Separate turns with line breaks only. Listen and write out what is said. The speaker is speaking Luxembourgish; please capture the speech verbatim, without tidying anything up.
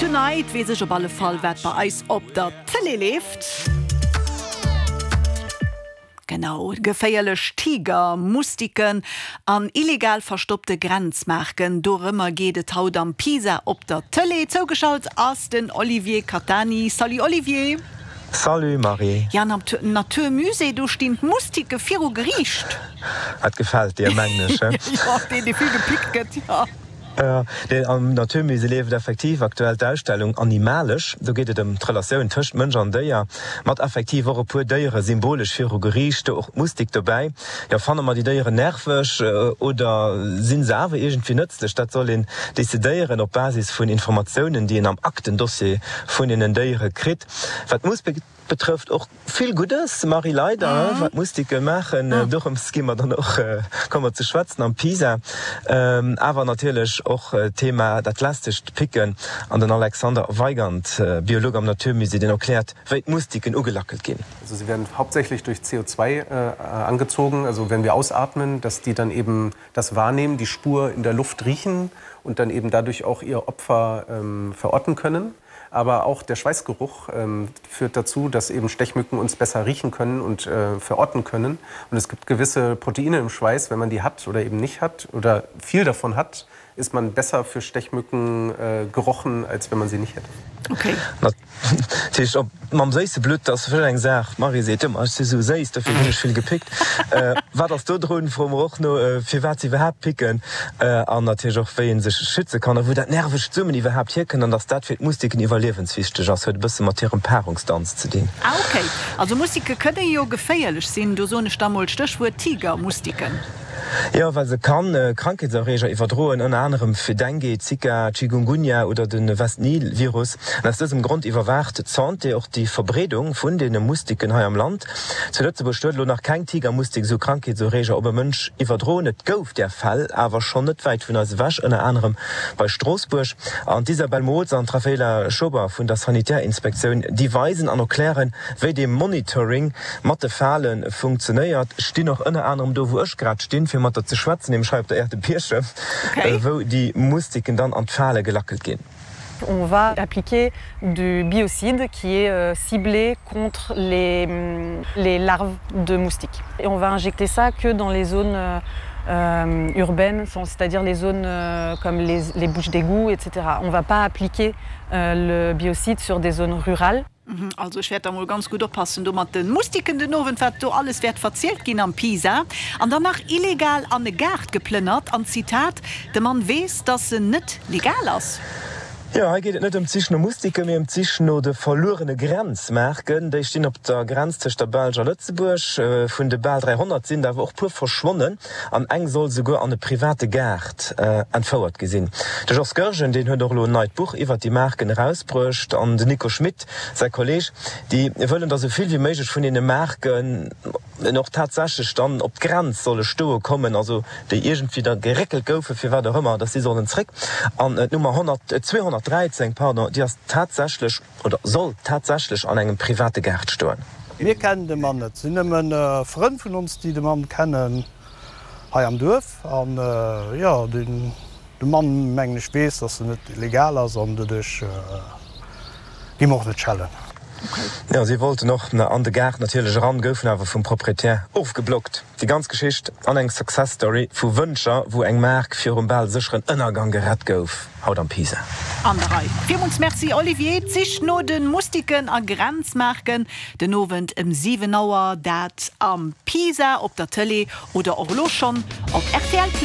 Tonight weess ech op alle Fall wat bei eis op der Tëlee leeft. Genau, geféierlech Tiger, Mustiken an illegal verstoppte Grenzmarken. Dorëmmer geet et haut am Pisa op der Tëlee. Zougeschalt ass den Olivier Catani. Salut Olivier.
Salut Marie.
Ja, am Natur musée do stinn d'Mustike viru Geriicht.
Dat gefält dir, mengen ech, he?
Jo, deen dee vill gepickt gëtt, jo.
Jo, nee, am Natur musée leeft effektiv aktuell d'Ausstellung Animalesch. Do geet et ëm d'Relatioun tëscht Mënsch an Déier, mat effektiv och e puer Déiere symbolesch viru Geriicht, do och d'Mustik dobäi. Jo, fanne mer déi Déieren nerveg oder si se awer iergendwéi nëtzlech? Dat soll een decidéieren op Basis vun Informatiounen, déi een am Aktendossier vun deenen Déiere kritt. Wat d'Mustik betrëfft, och vill Guddes, Marie, leider, wat d'Mustike maachen, dorëms gi mer dann och, komme mer ze schwätzen am PISA. Awer natierlech och d'Thema dat lästegt Picken an den Alexander Weigand, Biolog am Naturmusée, deen erkläert, wéi d'Mustiken ugelackelt ginn.
Also sie werden hauptsächlich durch C O zwei angezogen, also wenn wir ausatmen, dass die dann eben das wahrnehmen, die Spur in der Luft riechen und dann eben dadurch auch ihr Opfer verorten können. Aber auch der Schweißgeruch führt dazu, dass eben Stechmücken uns besser riechen können und verorten können. Und es gibt gewisse Proteine im Schweiß, wenn man die hat oder eben nicht hat oder viel davon hat, ist man besser für Stechmücken gerochen, als wenn man sie nicht hätte.
Okay.
Natierlech och mam séisse Blutt, dat ass vläicht eng Saach. D'Marie seet ëmmer, ech si sou séiss, dofir ginn ech vill gepickt. Wat ass do drun, froe mer och no, firwat se iwwerhaapt picken an natierlech och wéi ee sech schütze kann a wou dat nervegt Summen iwwerhaapt hierkënnt an dass dat fir d'Mustiken iwwerliewenswichteg ass, huet e bësse mat hirem Paarungsdanz ze dinn.
Ah ok, also Mustike kënne jo geféierlech sinn, do soen ech da mol Stéchwuert Tigermustiken.
Jo, well se kann Krankheetserreeger iwwerdroen, ënner anerem fir Dengue, Zika, Chikungunya oder de West-Nil-Virus. An aus dësem Grond iwwerwaacht d'Santé och déi Verbreedung vun deene Mustiken hei am Land. Zu Lëtzebuerg huet elo nach keng Tigermustik esou Krankheetserreeger op e Mënsch iwwerdroen. Et gouf där Fäll awer schonn net wäit vun eis ewech, ënner anerem bei Stroossbuerg. An d'Isabelle Mootz an d'Raphaela Schober vun der Sanitärinspektioun, déi weisen an erklären, wéi dee Monitoring mat de Fale funktionéiert, stinn och ënner anerem do, wou ech grad stinn, fir mat der ze schwätzen, nämlech hei op der Aire de Pierche, wou déi Mustiken dann an d'Fale gelackelt ginn.
On va appliquer du biocide qui est ciblé contre les, les larves de moustiques. Et on va injecter ça que dans les zones euh, urbaines, c'est-à-dire les zones euh, comme les, les bouches d'égout, et cetera. On va pas appliquer euh, le biocide sur des zones rurales.
Also ech wäert da mol ganz gutt oppassen do mat de Mustiken den Owend, wat do alles wäert verzielt ginn am Pisa. An dann nach illegal an e Gaart geplënnert an Zitat, de Mann weess, dass en net legal ass.
Jo, hei geet et net ëm d'Sich no Mustiken, mee ëm d'Sich no de verluerene Grenzmaarken. Déi stinn op der Grenz tëscht der Belsch a Lëtzebuerg. Vun de bal dräihonnert sinn der awer och puer verschwonnen an eng soll souguer an e private Gaart entfouert gi sinn. De Georges Goergen, deen huet och elo en neit Buch iwwert déi Maarken erausbruecht an den Nico Schmit, säi Kolleeg, déi wëllen, datt esou vill wéi méiglech vun deene Maarken och tatsächlech dann op d'Grenz solle stoe kommen, also déi iergendwéi da geréckelt goufen, firwat och ëmmer, datt si sollen zréck. An d'Nummer honnert, zweehonnertdräizéng, pardon, déi ass tatsächlech oder soll tatsächlech an engem private Gaart stoen.
Mir kennen de Mann net, et sinn nëmmen Frënn vun ons, déi de Mann kennen hei am Duerf. An jo, de Mann, mengen ech, weess, datt en net legal ass an doduerch gi mer och net schellen.
Jo, si wollten och an de Gaart natierlech eran, goufen awer vum Proprietär ofgeblockt. Déi ganz Geschicht an eng Success Story vu Wëncher, wou eng Maark virum bal sécheren Ënnergang gerett gouf, haut am Pisa.
An der Rei. Villmools Merci Olivier. D'Sich no de Mustiken a Grenzmaarken den Owend ëm siwen Auer, dat am Pisa op der Tëlee oder och elo schonn op rtl Play.